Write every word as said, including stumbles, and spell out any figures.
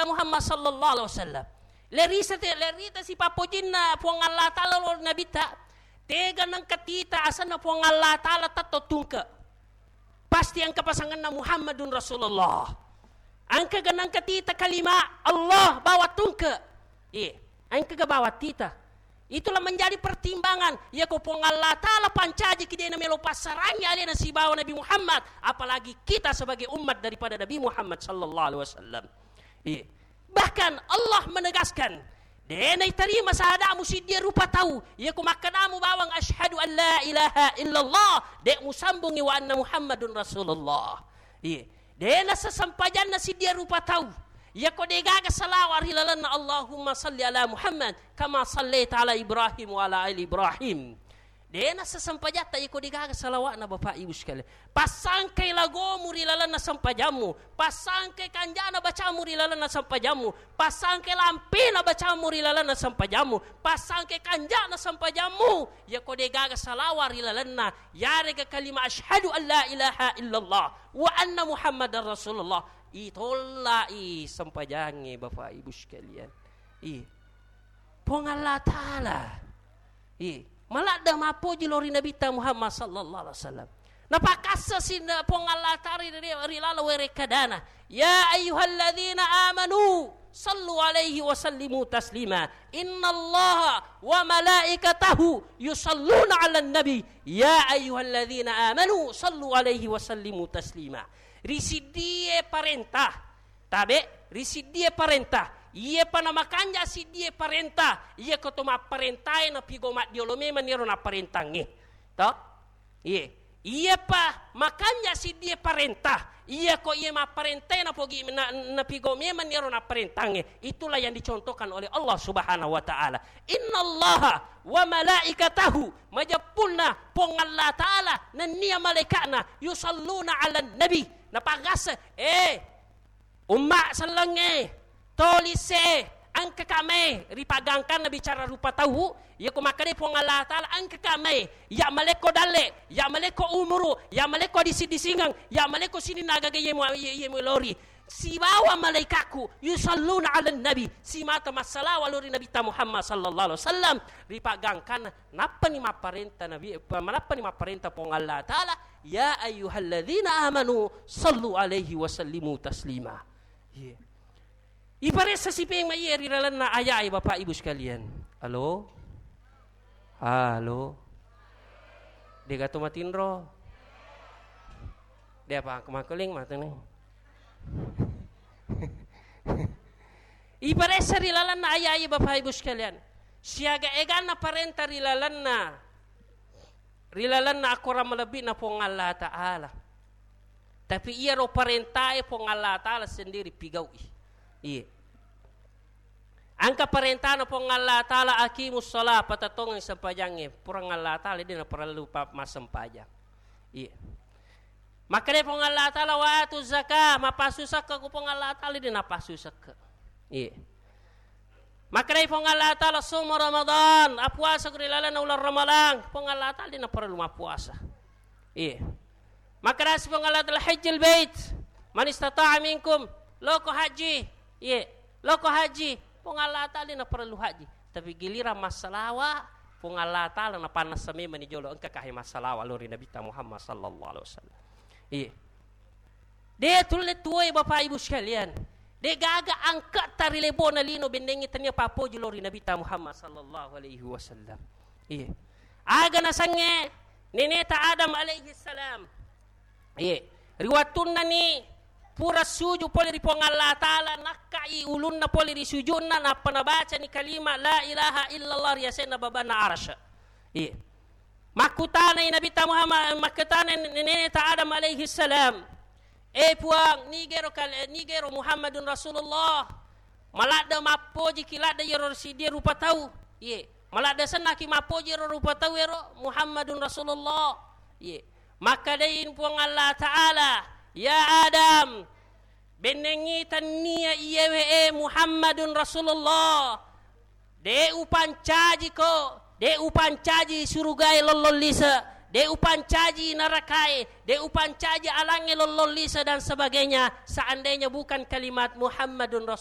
Muhammad sallallahu alaihi wasallam. Lerisa te-, lerita si pappojinna Puang Allah Ta'ala lao ri Nabitta, tega nengka tita asenna Puang Allah Ta'ala tetto tungke. Pasti engka pasanganna Muhammadun Rasulullah. Engka ga nengka tita kalima Allah bawa tungke. Iya, engka ga bawa tita. Itulah menjadi pertimbangan. Iya ko Puang Allah Ta'ala pancaji ki de' namelo passarangi alena sibawa Nabi Muhammad, apalagi kita sebagai umat daripada Nabi Muhammad sallallahu alaihi wasallam. Iya. Bahkan Allah menegaskan, de' naitarima sahadamu siddia rupa tau, iya ko makkadamu bawang asyhadu an la ilaha illallah, de' musambungi wa anna Muhammadun Rasulullah. Iya. De' nasesempajanna siddia rupa tau, iya ko de' gaga salawa ri lalenna Allahumma salli ala Muhammad kama sallaita ala Ibrahim wa ala ali Ibrahim. De' nasesempajatta iko de' gaga salawa'na, Bapak Ibu sekalian. Passangkai lagomu ri lalenna sempajammu, passangkai kanja'na bacamu ri lalenna sempajammu, passangkai lampena bacamu ri lalenna sempajammu, passangkai kanja'na sempajammu, iyako de' gaga salawa ri lalenna, yarega kalima asyhadu an la ilaha illallah wa anna Muhammadar Rasulullah, itollai sempajangnge, Bapak Ibu sekalian. Ih. Puang Allah Ta'ala. Iya. Maladde mappoji lao ri Nabitta Muhammad sallallahu alaihi wasallam. Napakassa sinna Puang Allah Ta'ala ri, ri, ri laleng werekkadana. Ya ayyuhalladzina amanu sallu alaihi wa sallimu taslima. Innallaha wa malaikatahu yusalluna 'alan nabi. Ya ayyuhalladzina amanu sallu alaihi wa sallimu taslima. Ri siddie parenta. Tabe, ri siddie parenta. Iyepa namakanja siddie parenta, iyako to mapparentae napigo maddiolo memang iyaro napparentangnge. To? Iye. Iyepa makanja siddie parenta, iyako iye mapparentae napogi, na, napigo memang iyaro napparentangnge. Itulah yang dicontohkan oleh Allah Subhanahu wa Ta'ala. Innallaha wa malaikatahu, majeppunna Puang Allah Ta'ala nennia malaika'na, yusalluna 'alan nabi, napagase, eh, Umma sellengnge, tolisse, engkaka mai ri paggangkanna bicara rupa tau, iyako makkeda Puang Allah Ta'ala, engkaka mai, ya malekko dalle, ya malekko umuru, ya malekko disi-disingeng, ya malekko sininna agaga iye mu-, iye, iye muelori. Sibawa malaikakku, yusalluna 'alan nabi, simata massalawa lao ri Nabitta Muhammad sallallahu alaihi wasallam, ri paggangkanna, nappani mapparenta Nabi, pa-, nappani mapparenta Puang Allah Ta'ala, ya ayyuhalladzina amanu sallu alaihi wa sallimu taslima. Iya. Iparessa sipeng maiye ri lalenna ayae, Bapak Ibu sekalian. Halo? Halo? Degato matinro? De apa aku makuling matene. Iparessa ri lalenna ayae, Bapak Ibu sekalian. Siaga eganna parenta ri lalenna ri lalenna akorang malebbi'na Puang Allah Ta'ala. Tapi iyaro parentae Puang Allah Ta'ala sendiri pigau'i. Iya. Engka parentana Puang Allah Ta'ala, aqimus shalah, patettongengngi sempajangnge. Puang Allah Ta'ala de' naparellu pa-, massempajang. Iya. Makkeda Puang Allah Ta'ala, wa atu zakah, mappasu sekka ku Puang Allah Ta'ala de' napasu sekka. Iya. Makkedai Puang Allah Ta'ala, sumu Ramadan, appuasa ri lalenna uleng Ramalang, Puang Allah Ta'ala de' naparellu mappuasa. Iya. Makkedasi Puang Allah Ta'ala, hajjil bait, man istata'a minkum, loko haji. Iya, loko haji, Puang Allah Ta'ala de' naparellu haji. Tapi giliran massalawa, Puang Allah Ta'ala napannessa memang ni jolo, engka kahe massalawa lao ri Nabitta Muhammad sallallahu alaihi wasallam. Iya. De' tulle tuoe, Bapak Ibu sekalian. De' gaga angketta ri lebona lino bennengngi tennia pappoji lao ri Nabitta Muhammad sallallahu alaihi wasallam. Iya. Aga nasengnge neneta Adam alaihi salam. Iya. Ri wattunnani pura suju pole ri Puang Allah Ta'ala, nakkai ulunna pole ri sujunna, nappa nabacani kalima la ilaha illallah ri asenna babanna arsy. Iya. Makkutanai Nabitta Muhammad, makkutanai neneta Adam alaihi salam, "Eh Puang, nigero kal-, nigero Muhammadun Rasulullah? Maladde mappojiki ladde iyaro siddie rupa tau." Iye. "Maladde sennaki mappoji ero rupa tau ero Muhammadun Rasulullah." Iye. Makkedai Puang Allah Ta'ala, "Ya Adam, bennengngi tennia iyewe e Muhammadun Rasulullah. De' upancajiko, de' upancaji surugae lollong lise, de' upancaji narakae, de' upancaji alangnge lollong lise dan sebagainya, seandainya bukan kalimat Muhammadun Rasulullah."